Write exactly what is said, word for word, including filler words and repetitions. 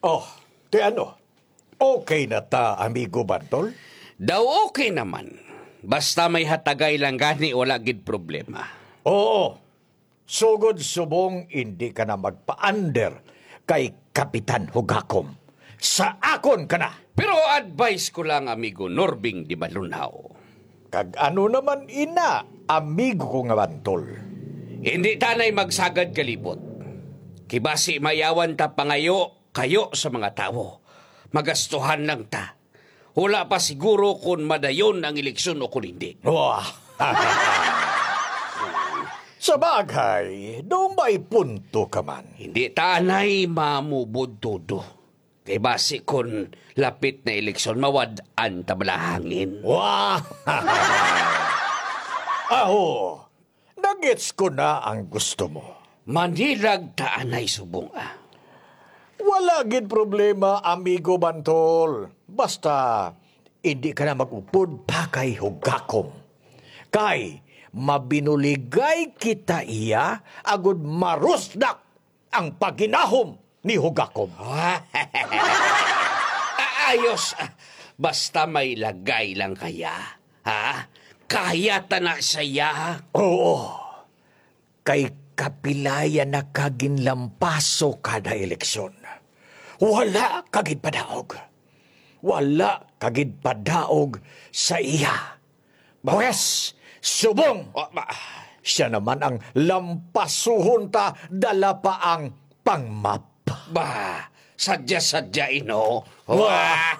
Oh, ti ano? Okay na ta, amigo Bantol? Daw okay naman. Basta may hatagay lang gani, wala gid problema. Oo. Sugod subong, indi ka na magpa-under kay Kapitan Hugakom. Sa akon ka na! Pero advice ko lang, amigo Norbing Dimalunhaw. Kag ano naman ina, amigo ko nga Bantol? Hindi tanay magsagad kalibot. Kibasi mayawan ta pangayo kayo sa mga tawo. Magastuhan lang ta. Wala pa siguro kung madayon ang eleksyon o kung hindi. Wah! Sa bagay, daw may punto ka man. Hindi tanay mamubod todo. Kay basi kun lapit na eleksyon, mawad-an ta balahangin. Wah! Aho, nagets ko na ang gusto mo. Manilag ta anay subong, ah. Wala gid problema, amigo Bantol. Basta, hindi ka na mag-upod pa kay Hugakom. Kay, mabinuligay kita iya, agud marusdak ang paginahom ni Hugakom. Ayos. Basta may lagay lang kaya, ha? Kaya ta na siya. Oo. Kay kapilaya na ka ginlampaso kada eleksyon. Wala ka gid padaog. Wala ka gid padaog sa iya. Pwes, subong! Ah, ba- Siya naman ang lampasuhon ta, dala pa ang pangmap. Ba, sadya-sadya ino. Wah!